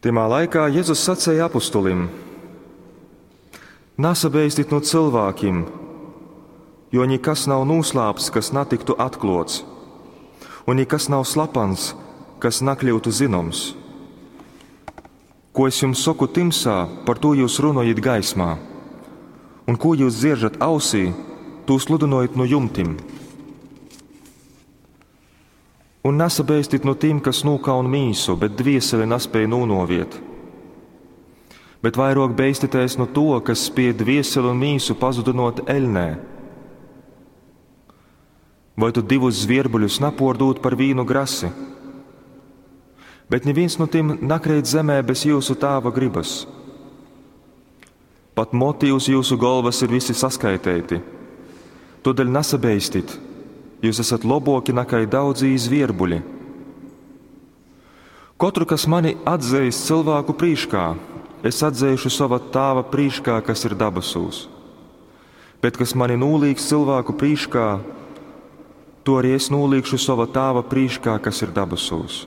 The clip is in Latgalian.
Tymā laikā Jezus saceja apustulim: Nasabeistit nu cylvākim, jo nikas nav nūslāpts, kas natyktu atklōts, un nikas nav slapans, kas nakļyutu zynoms. Ko es jums soku tymsā, par tū jyus runojit gaismā, un kū jyus dzieržat ausī, tū sludynojit nu jumtim. Un nasabeistit nu tim, kas nūkaun mīsu, bet dvieseli naspēj nūnoviet. Bet vairōk beistitēs nu to, kas spiej dvieseli un mīsu pazudynōt eļnē. Voi tu divus zvierbuļus napōrdūd par vīnu grasi? Bet nivīns nu tim nakreit zemē bez jyusu tāva grybas. Pat moti uz jyusu golvas ir visi saskaiteiti. Tōdēļ nasabeistit, Jūs esat loboki nakai daudzī zvierbuļi. Kotru, kas mani atzeis cylvāku prīškā, es atzeišu sova tāva prīškā, kas ir dabasūs. Bet kas mani nūlīgs cylvāku prīškā, to arī es nūliegšu sova tāva prīškā, kas ir dabasūs.